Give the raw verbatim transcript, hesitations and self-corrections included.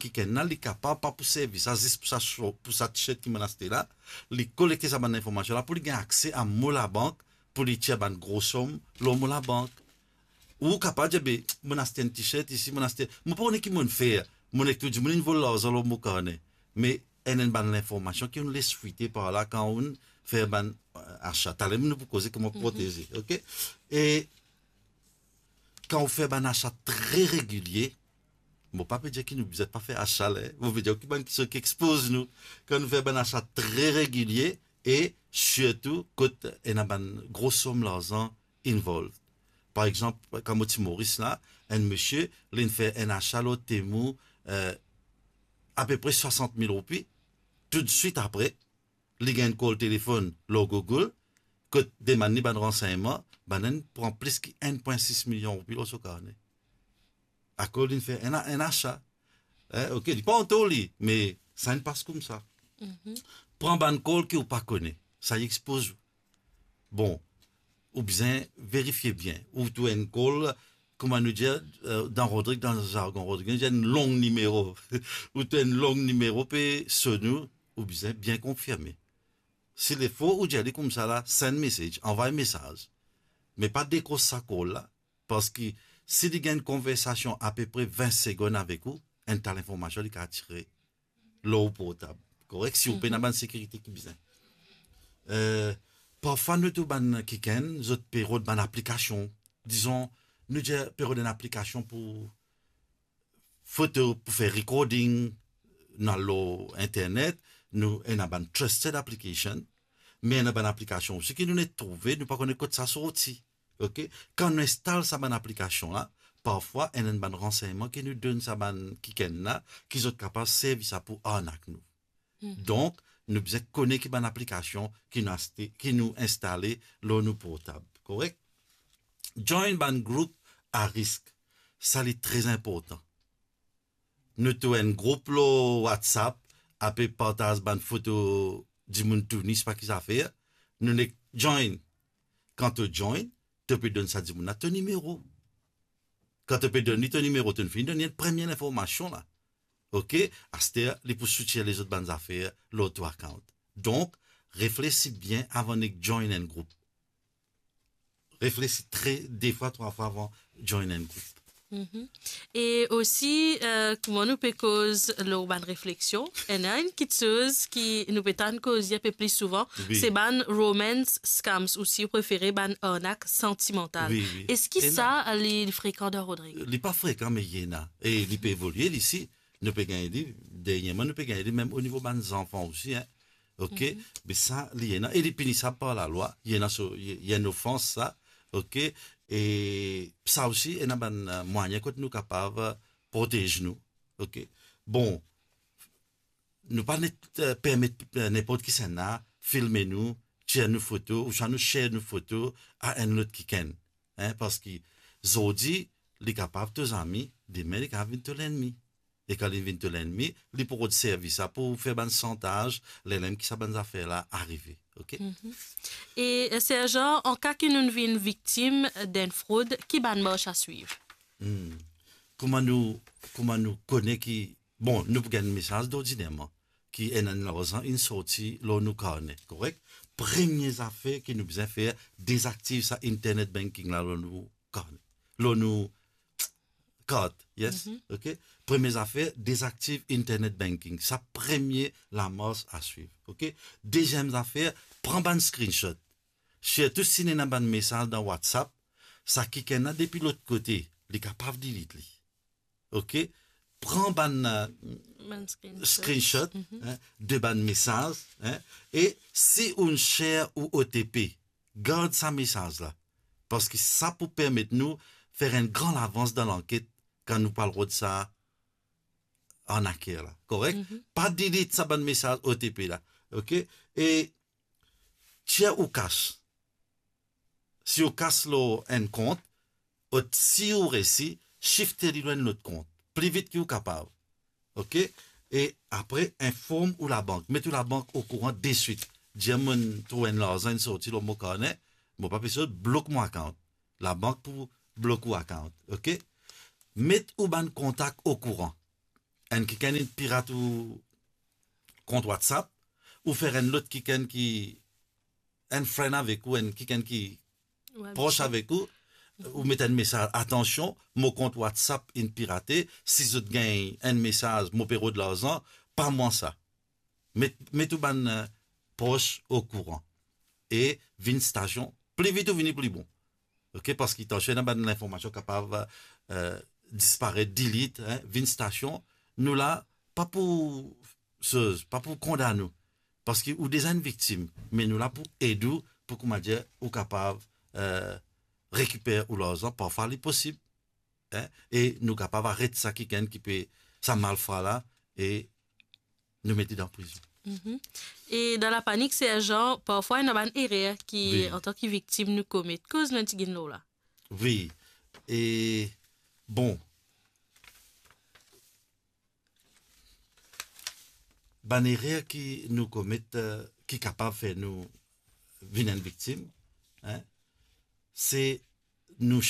kikenn la, li kapav pa pou servi sa zis pou sa sho-, pou sa t-shirt ki mo'nn aste la, li kolekte sa bann linformasion la pou li gagn akse a mo labank, pou li tir bann gro som lor mo labank. Ou kapav dir, "Be, mo'nn aste enn t-shirt isi, mo'nn aste, mo pa kone ki mo'nn fer, mo'nn ek tou dimoun inn vol larzan lor mo karne." Me enn, enn bann linformasion ki ou'nn les fwite par la kan ou'nn fer bann, eh, asa. Taler nou pou koze kouma proteze, oke? E kan ou fer bann asa tre regilie, mo pa pe dir ki nou bizin pa fer asa la, mo pe dir ki bann ki, ki expoz nou. Kan nou fer bann asa tre regilie e sirtou kot ena bann gro som larzan involved. Par exanp, kan mo ti Moris la, enn misie, li'nn fer enn asa lor Temu, eh, apepre swasant mil roupi, toutswit apre, li gagn enn kol telefonn lor Google, kot demann li bann ransegnman, bann-la inn pran plis ki enn pwin sis milion roupi lor so karne. Akoz li'nn fer enn, enn asa. Eh, oke, li pa an tor li, me sa inn pas koumsa. Pran bann kol ki ou pa kone, sa expoz ou. Bon, ou bizin verifie bien. Ou trouv enn kol, kouma nou dir, eh, dan Rodrig, dan zargon Rodrig, nou dir enn long nimero. Ou trouv enn long nimero pe sonn ou, ou bizin bien konfirme. Si li fo, ou dir li koumsa la, send message, anvway mesaz. Me pa dekros sa kol la, parski si li gagn konversasion apepre vin segonn avek ou, enn ta linformasion li kapav tire lor ou portab. Korek? Si ou pena bann sekirite ki bizin. Eh, parfwa nou trouv bann kikenn, zot pe rod bann aplikasion. Dizon, nou dir pe rod enn aplikasion pou foto, pou fer recording, nou al lor internet, nou ena bann trusted application, me ena bann aplikasion osi ki nou net trouve, nou pa kone kot sa sorti. Oke? Kan nou instal sa bann aplikasion la, parfwa ena enn bann ransegnman ki nou donn sa bann kikenn la, ki zot kapav servi sa pou arnak nou. Donk, nou bizin kone ki bann aplikasion ki nou aste, ki nou instale lor nou portab, korek? Join bann group a risk, sa li tre inportan. Nou trouv enn group lor WhatsApp, ape partaz bann foto dimoun Tunis, pa ki zafer, nou nek join. Kan to join, to pe donn sa dimoun la to nimero. Kan to pe donn li to nimero, to'nn fini donn li enn premie linformasion la. Oke? Aster, li pou soutir lezot bann zafer lor to account. Donk, reflesi bien avan nek join enn group. Reflesi tre, de fwa, trwa fwa avan join enn group. E osi, eh, kouma nou pe koz lor bann refleksion, ena enn kitsoz ki nou pe tann koze inpe pli souvan, se bann romance scams, ou si ou prefere, bann arnak santimantal. Eski sa, li, li frekan dan Rodrig? Li pa frekan, me li ena. E li pe evolie, li si. Nou pe gagn li, dernyerman, nou pe gagn li mem o nivo bann zanfan osi, en. Oke? Me sa, li ena, e li pinisab par lalwa, li ena so, li, li enn ofans sa, oke? E sa osi, ena bann, eh, mwayin kot nou kapav, eh, protez nou, oke? Bon, nou pa net, eh, permet, eh, ninport kisannla filme nou, tir nou foto, ouswa nou share nou foto a enn lot kikenn, en, parski zordi, li kapav to zami, demin li kapav vinn to lennmi. E kan li vinn to lennmi, li pou rod servi sa pou fer bann shantaz, lerla mem ki sa bann zafer la arive, oke? E, eh, Serjan, an ka ki nou vinn viktim d'enn frod, ki bann mars a swiv? Kouma nou, kouma nou kone ki, bon, nou pou gagn mesaz dordinerman, ki ena enn larzan inn sorti lor nou karne, korek? Premie zafer ki nou bizin fer, dezaktiv sa internet banking la lor nou karne, lor nou kart, yes? Oke? Premie zafer, dezaktiv internet banking. Sa premie lamars a swiv, oke? Deziem zafer, pran bann screenshot. Sirtou si ena bann mesaz dan WhatsApp, sa kikenn la depi lot kote, li kapav delete li. Oke? Pran bann, eh, screenshot, en, de bann mesaz, en, e si ou'nn share ou OTP, gard sa mesaz la, parski sa pou permet nou fer enn gran lavans dan lanket kan nou pou al rod sa arnaker la, korek? Pa delete sa bann mesaz OTP la, oke? E tir ou kas. Si ou kas lor enn kont, ou, si ou resi, shifte li lor enn lot kont, pli vit ki ou kapav. Oke? E apre, inform ou labank. Met ou labank okouran deswit. Dir, "Mo'nn trouv enn larzan inn sorti lor mo karne, mo pa pe sot, blok mo account." Labank pou blok ou account. Oke? Met ou bann kontak okouran. enn kikenn inn pirat ou kont WhatsApp, ou fer enn lot kikenn ki enn friend avek ou, enn kikenn ki pros avek ou, ou met enn mesaz, "Atansion, mo kont WhatsApp inn pirate, si zot gagn enn mesaz, mo pe rod larzan, pa mwa sa." Met, met ou bann, eh, pros okouran. E vinn stasion, pli vit ou vini, pli bon. Ok, parski tansion ena bann linformasion kapav, eh, disparet, delete, hein, vinn stasion, nou la, pa pou soz, pa pou kondann ou. Parski ou deza enn viktim, me nou la pou ed ou, pou, koumadir, ou kapav, eh, rekiper ou larzan, parfwa li posib, hein, e nou kapav aret sa kikenn ki pe, sa malfra la, e nou met li dan prizon. Mhm. E dan lapanik, sertan, parfwa ena bann erer ki, wi, antan ki viktim nou komet. Koz nou ti gagn lor la. Wi. E, bon, bann erer ki nou komet, eh, ki kapav fer nou vinn enn viktim, hein, se nou